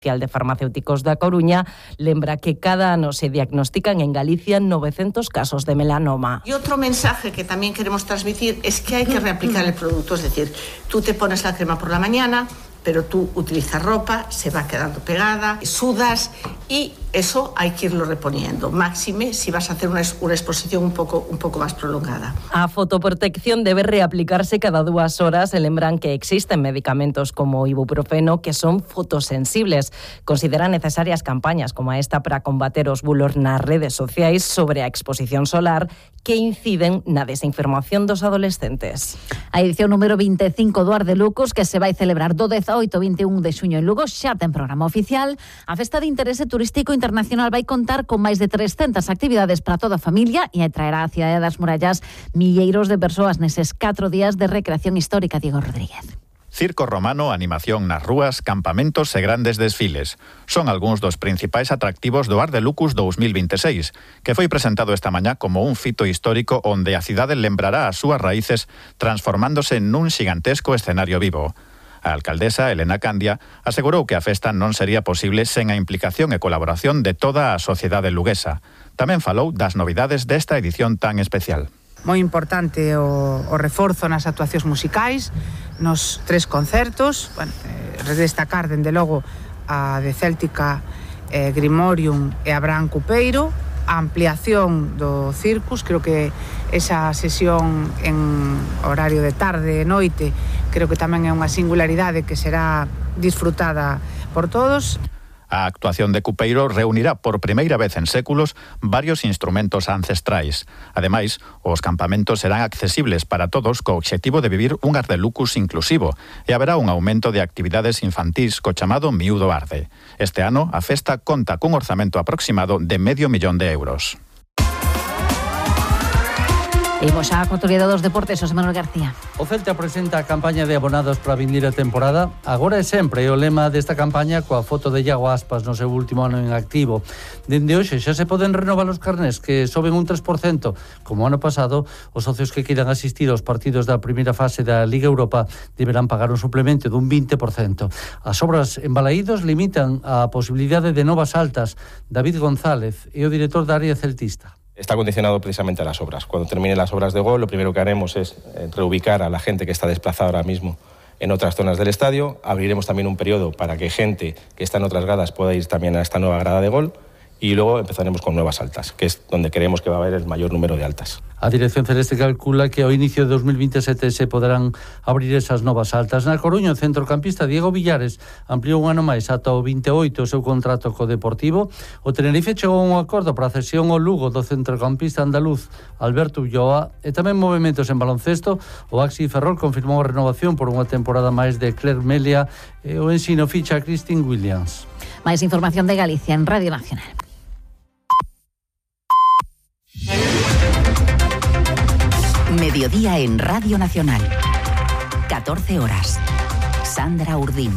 de Farmacéuticos da Coruña lembra que cada ano se diagnostican en Galicia 900 casos de melanoma. Y otro mensaje que también queremos transmitir es que hay que reaplicar el producto, es decir, tú te pones la crema por la mañana, pero tú utilizas ropa, se va quedando pegada, sudas y eso hay que irlo reponiendo. Máxime si vas a hacer una exposición un poco más prolongada. A fotoprotección debe reaplicarse cada 2 horas. E lembran que existen medicamentos como ibuprofeno que son fotosensibles. Consideran necesarias campañas como esta para combater os bulos nas redes sociais sobre a exposición solar que inciden na desinformación dos adolescentes. A edición número 25 do Ardelucos, que se vai celebrar do 18 ao 21 de xuño en Lugo, xa ten programa oficial. A festa de interese turístico internacional vai contar con máis de 300 actividades para toda a familia e atraerá á cidade das murallas milleiros de persoas neses 4 días de recreación histórica. Diego Rodríguez. Circo romano, animación nas rúas, campamentos e grandes desfiles. Son algúns dos principais atractivos do Ardelucus 2026, que foi presentado esta mañá como un fito histórico onde a cidade lembrará as súas raíces transformándose nun xigantesco escenario vivo. A alcaldesa, Elena Candia, asegurou que a festa non sería posible sen a implicación e colaboración de toda a sociedade luguesa. Tamén falou das novidades desta edición tan especial. Moi importante o reforzo nas actuacións musicais, nos 3 concertos, destacar, dende logo, a de Céltica, Grimorium e Abraham Cupeiro, a ampliación do Circus, creo que esa sesión en horario de tarde e noite, creo que tamén é unha singularidade que será disfrutada por todos. A actuación de Cupeiro reunirá por primeira vez en séculos varios instrumentos ancestrais. Ademais, os campamentos serán accesibles para todos co obxectivo de vivir un Ardelucus inclusivo e haberá un aumento de actividades infantís co chamado Miúdo Arde. Este ano, a festa conta cun orzamento aproximado de €500.000. Imos á actualidade dos deportes, José Manuel García. O Celta presenta a campaña de abonados para a vindeira temporada. Agora é sempre o lema desta campaña coa foto de Iago Aspas no seu último ano en activo. Dende hoxe xa se poden renovar os carnés que soben un 3%. Como ano pasado, os socios que queiran asistir aos partidos da primeira fase da Liga Europa deberán pagar un suplemento dun 20%. As obras en Balaídos limitan a posibilidade de novas altas. David González é o director da área celtista. Está condicionado precisamente a las obras. Cuando terminen las obras de gol, lo primero que haremos es reubicar a la gente que está desplazada ahora mismo en otras zonas del estadio. Abriremos también un periodo para que gente que está en otras gradas pueda ir también a esta nueva grada de gol. Y luego empezaremos con nuevas altas, que es donde creemos que va a haber el mayor número de altas. A Dirección Celeste calcula que ao inicio de 2027 se poderán abrir esas novas altas. Na Coruña, o centrocampista Diego Villares ampliou un ano máis ata o 28 o seu contrato co Deportivo. O Tenerife chegou a un acordo para a cesión ao Lugo do centrocampista andaluz Alberto Ulloa e tamén movementos en baloncesto. O Axi Ferrol confirmou a renovación por unha temporada máis de Claire Melia e o Ensino ficha a Christine Williams. Máis información de Galicia en Radio Nacional. Mediodía en Radio Nacional. 14 horas. Sandra Urdín.